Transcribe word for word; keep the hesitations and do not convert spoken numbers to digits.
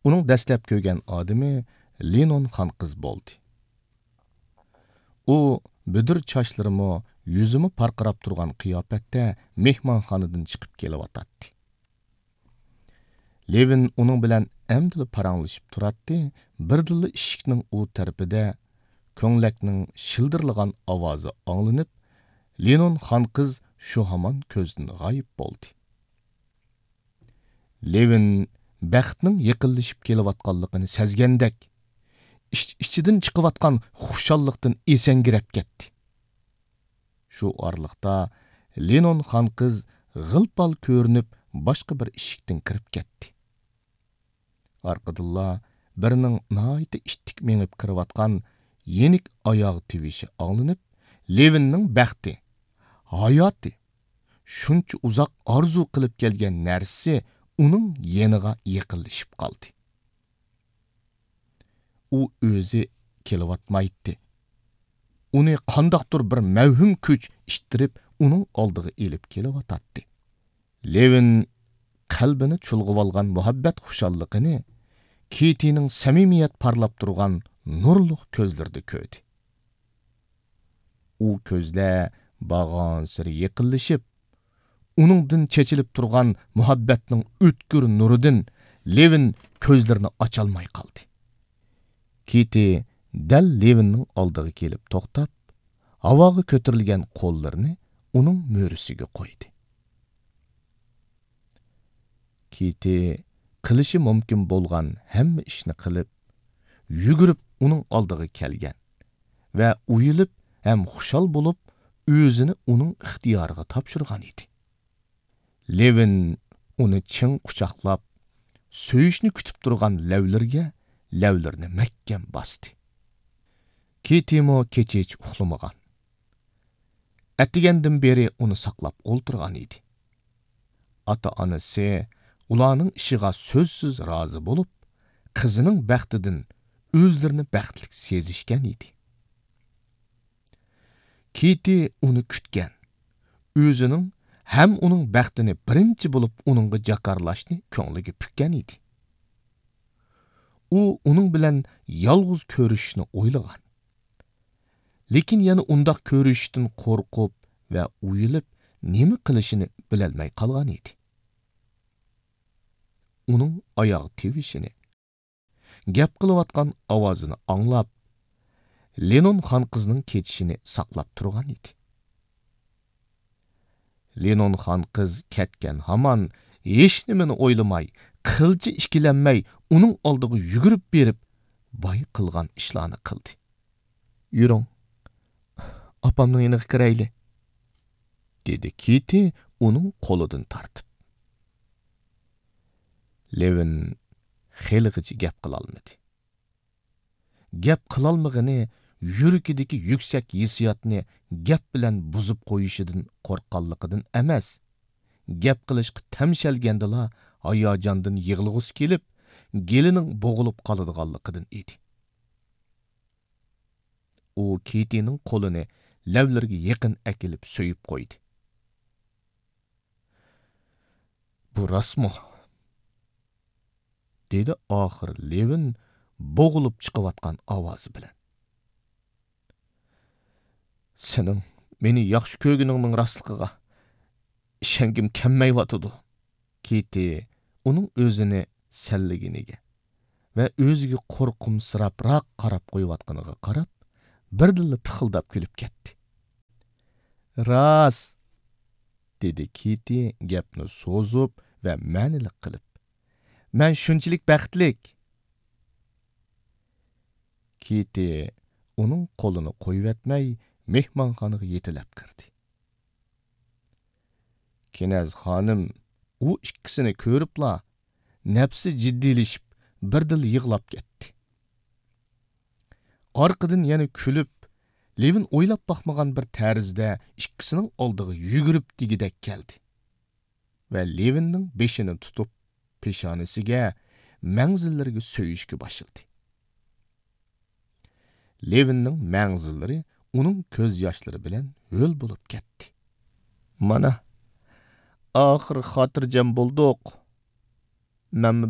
ئۇنىڭ دەسلەپ كۆرگەن ئادىمى لىنون خانقىز بولدى. ئۇ بۈدۈر چاچلىرىمۇ، يۈزىمۇ پارقىراپ تۇرغان قىياپەتتە مېھمانخانىدىن چىقىپ كېلىۋاتاتتى. لېۋىن ئۇنىڭ بىلەن ئەمدىلا پاراڭلىشىپ تۇراتتى، بىردىنلا ئىشىكنىڭ ئۇ تەرىپىدە كۆڭلەكنىڭ شىلدىرلىغان ئاۋازى ئاڭلىنىپ، لىنون خانقىز شۇ ھامان كۆزدىن غايىب بولدى. لېۋىن بەختنىڭ يېقىنلىشىپ كېلىۋاتقانلىقىنى سەزگەندەك، ئىچ-ئىچىدىن چىقىۋاتقان خۇشاللىقتىن ئېسەڭگىرەپ كەتتى. شۇ ئارىلىقتا لىنون خانقىز غىل-پال كۆرۈنۈپ، باشقا بىر ئىشىكتىن كىرىپ كەتتى. ئارقىدىنلا بىرىنىڭ ناھايىتى ئىتتىك مېڭىپ كىرىۋاتقان يېنىك ئاياغ تىۋىشى ئاڭلىنىپ، لېۋىننىڭ بەختى، ھاياتى، شۇنچە ئۇزاق ئارزۇ قىلىپ كەلگەن نەرسىسى ئۇنىڭ يېنىغا يېقىنلىشىپ قالدى. ئۇ ئۆزى كېلىۋاتمايتتى. ئۇنى قانداقتۇر بىر مەۋھۇم كۈچ ئىتتىرىپ، ئۇنىڭ ئالدىغا ئېلىپ كېلىۋاتاتتى. لېۋىن قەلبىنى چۇلغىۋالغان مۇھەببەت خۇشاللىقىنى كىتىنىڭ سەمىمىيەت پارلاپ تۇرغان نۇرلۇق كۆزلىرىدە كۆردى. ئۇ كۆزلەر بارغانسېرى يېقىنلىشىپ، ئۇنىڭدىن چېچىلىپ تۇرغان مۇھەببەتنىڭ ئۆتكۈر نۇرىدىن لېۋىن كۆزلىرىنى ئاچالماي قالدى. كىتى دەل لېۋىننىڭ ئالدىغا كېلىپ توختاپ، ھاۋاغا كۆتۈرۈلگەن قوللىرىنى ئۇنىڭ مۈرىسىگە قويدى. كىتى قىلىشى مۇمكىن بولغان ھەممە ئىشنى قىلىپ، يۈگۈرۈپ ئۇنىڭ ئالدىغا كەلگەن ۋە ئۇيىلىپ ھەم خۇشال بولۇپ، ئۆزىنى ئۇنىڭ ئىختىيارىغا تاپشۇرغان ئىدى. لېۋىن ئۇنى چىڭ قۇچاقلاپ، سۆيۈشنى كۈتۈپ تۇرغان لەۋلىرىگە لەۋلىرىنى مەھكەم باستى. كىتىمۇ كېچىچە ئۇخلىمىغان. ئەتىگەندىن بېرى ئۇنى ساقلاپ ئولتۇرغان ئىدى. ئاتا-ئانىسى ئۇلارنىڭ ئىشىغا سۆزسىز رازى بولۇپ، قىزىنىڭ بەختىدىن ئۆزلىرىنى بەختلىك سېزىشكەن ئىدى. كىتى ئۇنى كۈتكەن، ئۆزىنىڭ ھەم ئۇنىڭ بەختىنى بىرىنچى بولۇپ ئۇنىڭغا جاكارلاشنى كۆڭلىگە پۈككەن ئىدى. ئۇ ئۇنىڭ بىلەن يالغۇز كۆرۈشۈشنى ئويلىغان. لېكىن يەنە ئۇنداق كۆرۈشۈشتىن قورقۇپ ۋە ئۇيىلىپ، نېمە قىلىشىنى بىلەلمەي قالغان ئىدى. ئۇنىڭ ئاياغ تىۋىشىنى، گەپ قىلىۋاتقان ئاۋازىنى ئاڭلاپ، لېنون خانقىزنىڭ كېتىشىنى ساقلاپ تۇرغان ئىدى. لېنون خانقىز كەتكەن ھامان ھېچنېمىنى ئويلىماي، قىلچە ئىككىلەنمەي ئۇنىڭ ئالدىغا يۈگۈرۈپ بېرىپ، بايا قىلغان ئىشلارنى قىلدى. «يۈرۈڭ، ئاپامنىڭ يېنىغا كىرەيلى»، دېدى كىتى ئۇنىڭ قولىدىن تارتىپ. لېۋىن خېلىغىچە گەپ قىلالمىدى. گەپ قىلالمىغىنى يۈرىكىدىكى يۈكسەك ھېسسىياتنى گەپ بىلەن بۇزۇپ قويۇشىدىن قورققانلىقىدىن ئەمەس، گەپ قىلىشقا تەمشەلگەندىلا ھاياجاندىن يىغلىغۇسى كېلىپ، گېلىنىڭ بوغۇلۇپ قالىدىغانلىقىدىن ئىدى. ئۇ كىتىنىڭ قولىنى لەۋلىرىگە يېقىن ئەكېلىپ سۆيۈپ قويدى. «بۇ راستمۇ؟» دېدى ئاخىر لېۋىن بوغۇلۇپ چىقىۋاتقان ئاۋازى بىلەن. «سېنىڭ مېنى ياخشى كۆرگىنىڭنىڭ راستلىقىغا ئىشەنگۈم كەلمەيۋاتىدۇ.» كىتى ئۇنىڭ ئۆزىنى سەنلىگىنىگە ۋە ئۆزىگە قورقۇمسىراپراق قاراپ قويۇۋاتقىنىغا قاراپ، بىردىنلا پىخىلداپ كۈلۈپ كەتتى. «راست!» دېدى كىتى گەپنى سوزۇپ ۋە مەنىلىك قىلىپ. «مەن شۇنچىلىك بەختلىك!» كىتى ئۇنىڭ قولىنى قويۇۋەتمەي، مېھمانخانىغا يېتىلەپ كىردى. كىنەز خانىم ئۇ ئىككىسىنى كۆرۈپلا، نەپسى جىددىيلىشىپ، بىردىنلا يىغلاپ كەتتى. ئارقىدىن يەنە كۈلۈپ، لېۋىن ئويلاپ باقمىغان بىر تەرزدە ئىككىسىنىڭ ئالدىغا يۈگۈرۈپ دېگۈدەك كەلدى ۋە لېۋىننىڭ بېشىنى تۇتۇپ، پېشانىسىگە، مەڭزىلىرىگە سۆيۈشكە باشلىدى. لېۋىننىڭ مەڭزىلىرى ئۇنىڭ كۆز ياشلىرى بىلەن ھۆل بولۇپ كەتتى. «مانا، ئاخىرى خاتىرجەم بولدۇق. مەنمۇ